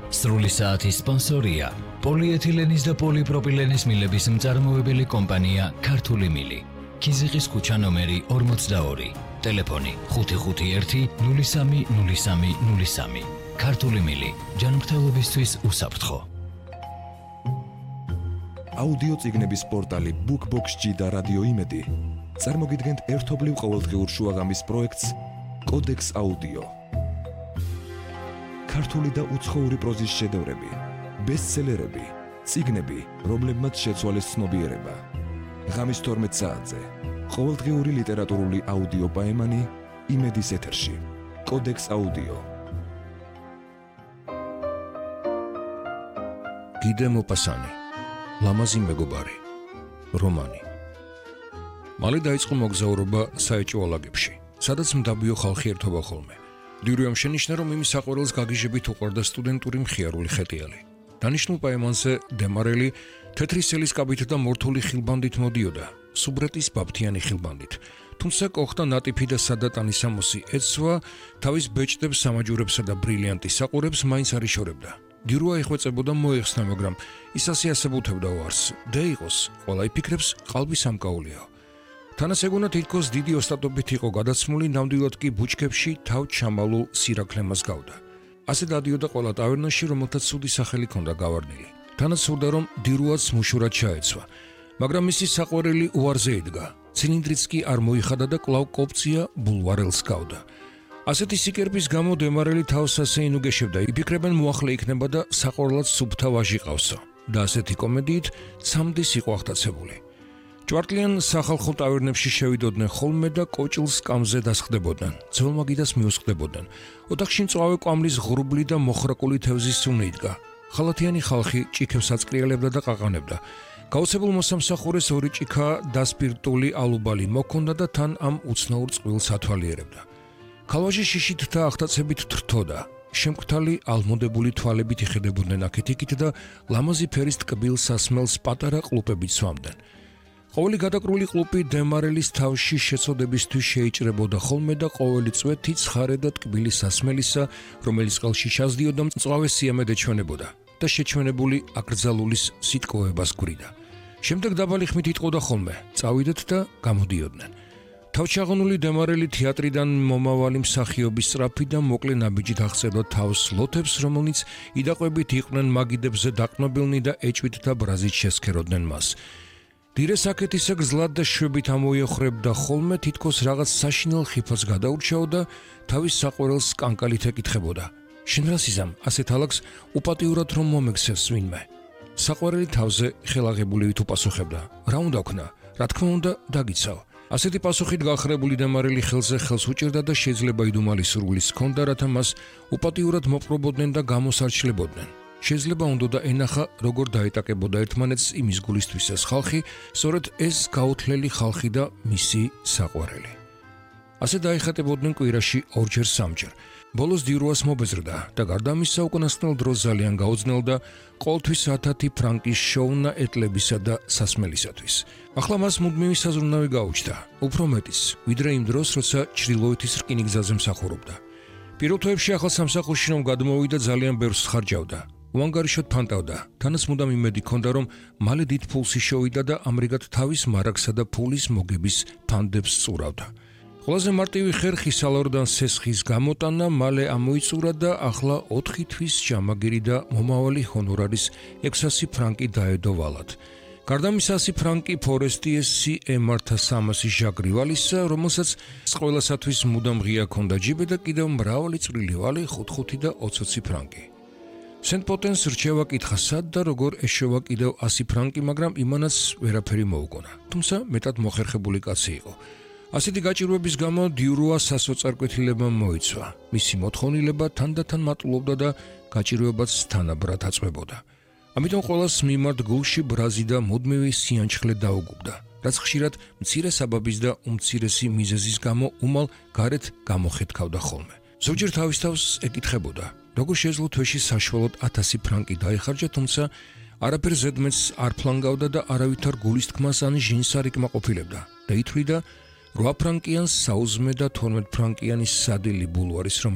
სრული საათის სპონსორია პოლიეთილენის და პოლიპროპილენის მილების მწარმოებელი კომპანია ქართული მილი. ქიზიყის ქუჩა ნომერი 42. ტელეფონი 551-030303. ქართული მილი. ჯანმრთელობისთვის უსაფრთხო. აუდიო წიგნების პორტალი BookBox-ში და რადიო იმედი წარმოგიდგენთ ერთობლივ ყოველდღიურ შუაღამის პროექტს კოდექს აუდიო. ქართული და უცხოური პროზის შედევრები, ბესტსელერები, წიგნები, რომლებმაც შეცვალეს ცნობიერება. ღამის 12 საათზე ყოველდღიური ლიტერატურული აუდიო პაემანი იმედის ეთერში. კოდექს აუდიო. გიდე მოპასანი, ლამაზი მეგობარი, რომანი. მალე დაიწყო მოგზაურობა საეჭვო ალაგებში, სადაც მდაბიო ხალხი ერთობა ხოლმე. დიურიამ შენიშნა, რომ იმის საყვარელს გაგიჟებით უყვარდა სტუდენტური მხიარული ხეტიალი. დანიშნულ პაემანზე დემარელი თეთრი სელისკაბით და მორთული ხილბანდით მოდიოდა, სუბრეტის ბაბთიანი ხილბანდით. თუმცა კოხთა ნატიფი და სადატანისამოსი ეცვა თავის ბეჭდებს, სამაჯურებსა და ბრილიანტის საყურებს მაინც არ იშორებდა. დიურა იხვეწებოდა მოეხსნა, მაგრამ ის ასეასებუთებდა უარს. და იყოს, ყველა იფიქრებს, ყალბი სამკაულიაო. თანაც ეგონა თითქოს დიდი ოსტატობით იყო გადაცმული, ნამდვილად კი ბუჩქებში თავ ჩამალულ სირაქლემას გავდა. ასე დადიოდა ყველა ტავერნაში, რომელთაც ცუდი სახელი ჰქონდა გავარდნილი. თანაც სურდა, რომ დიურაც მუშურად ჩაეცვა, მაგრამ მისი საყვარელი უარზე იდგა. ცილინდრიც კი არ მოიხადა და კვლავ კოპწია ბულვარელს გავდა. ასეთი სიკერბის გამო დემარელი თავს ასე ინუგეშებდა, იფიქრებენ მოახლე იქნება და საყვარლად სუფთა ვაჟი ყავსო. და ასეთი კომედიით ცამდის იყო აღტაცებული. ჭვარტლიან სახალხო ტავერნებში შევიდოდნენ ხოლმე და კოჭილს კამზე დასხდებოდნენ, ძველმაგიდას მიუსხდებოდნენ. ოთახში მწვავე კვამლის ღრუბლი და მოხრაკული თევზის სუნი იდგა. ხალათიანი ხალხი ჭიქებს აწკრიალებდა და ყაყანებდა. გაუცებულ მოსამსახურეს ორი ჭიქა დასპირტული ალუბალი მოქონდა და თან ამ უცნაურ წყვილს ათვალიერებდა. ქალვაჟი შიშით და აღტაცებით თრთოდა. შემკთალი ალმოდებული თვალებით იხედებოდნენ აქეთ-იქით და ლამაზი ფერის ტკბილ სასმელს პატარა ყლუპებით სვამდნენ. ყოველი გადაკრული ყლუპი დემარელის თავში შეწოდებისთვის შეიჭრებოდა ხოლმე და ყოველი წვეთი ცხარე და ტკბილი სასმელისა, რომელიც ყელში ჩასდიოდა, მწვავე სიამედ ეჩვენებოდა და შეჩვენებული აკრძალულის სიტყვეებას გვრიდა. შემდეგ დაბალი ხმით იტყოდა ხოლმე, წავიდეთ და გამოდიოდნენ. თავჩაღონული დემარელი თეატრიდან მომავალი მსახიობის სწრაფი და მოკლე ნაბიჯით აღწერდა თავს ლოთებს, რომელნიც იდაყვებით იყვნენ მაგიდებზე დაყნობილნი და ეჭვით და ბრაზით შესქეროდნენ მას. დირეს აქეთისა გზლად და შვებით ამოიოხრებდა ხოლმე, თითქოს რაღაც საშინელ ხიფას გადაურჩაო და თავის საყვარელს კანკალით ეკითხებოდა. შენ რა სიზამ, ასეთ ალაგს უპატიურად რომ მომექცევს ვინმე? საყვარელი თავზე ხელაღებულივით უპასუხებდა. რა უნდა ვქნა? რა თქმა უნდა, დაგიცავ. ასეთი პასუხით გახრებული დემარელი ხელზე ხელს უჭერდა და შეიძლება იდუმალი სურვილის ჰქონდა, რათა მას უპატიურად მოპყრობოდნენ და გამოსარჩლებოდნენ. შეიძლება უნდა და ენახა, როგორ დაეტაკებოდა ერთმანეთს იმის გულისთვის ეს ხალხი, სწორედ ეს გაუთლელი ხალხი და მისი საყვარელი. ასე დაიხატებოდნენ კვირაში ორჯერ სამჯერ. ბოლოს დიურას მობეზრდა და გარდა ამისა უკანასკნელ დროს ძალიან გაუძნელდა ყოველთვის 1000 ფრანკის შოუნა ეტლებისა და სასმელისათვის. ახლა მას მუდმივი საზრუნავი გაუჩნდა, უფრო მეტიც, ვიდრე იმ დროს, როცა ჩრდილოეთის რკინიგზაზე მსახურობდა. პირველ თვეებში ახალ სამსახურში რომ გადმოვიდა, ძალიან ბევრს ხარჯავდა. უანგარიშოდ ფანტავდა, თანაც მუდამ იმედი ჰქონდა, რომ მალე დიდ ფულს იშოვიდა და ამრიგად თავის მარაგსა და ფულის მოგების ფანდებს სწურავდა. ყველაზე მარტივი ხერხი სალორდან სესხის გამოტანა მალე ამოიწურა და ახლა 4 თვის ჯამაგირი და მომავალი ჰონორარის 600 ფრანკი დაედო ვალად. გარდა მის 100 ფრანკი ფორესტიესი ემართა 300 ჟაგრივალისა, რომელსაც ყველასათვის მუდამ ღია ჰქონდა ჯიბე და კიდევ მრავალი წვრილი ვალი 5 და 20 ფრანკი. სენტ-პოტენს რჩევა კითხა სად და როგორ ეშოვა კიდევ 100 ფრანკი, მაგრამ იმანაც ვერაფერი მოუგონა. თუმცა მეტად მოხერხებული კაცი იყო. ასეთი გაჭირვების გამო დიუროა სასოწარკვეთილებამ მოიცვა. მისი მოთხოვნილება თანდათან მატულობდა და გაჭირვებაც თანაბრად აწვებოდა. ამიტომ ყველას მიმართ გულში ბრაზი და მუდმივი სიანჩხლე დაუგუბდა, რაც ხშირად მცირე საბაბის და უმცირესი მიზეზის გამო უმალ გარეთ გამოხეთქავდა ხოლმე. ზოგჯერ თავის თავს ეკითხებოდა, როგორ შეძლო თვეში საშუალოდ 1000 ფრანკი დაიხარჯა, თუმცა არაფერ ზედმეტს არ ფლანგავდა და არავითარ გულის თქმას ან ჟინს არ იკმაყოფილებდა და ითვლიდა 8 ფრანკიანს საუზმე და 12 ფრანკიანის სადილი ბულვარის რომ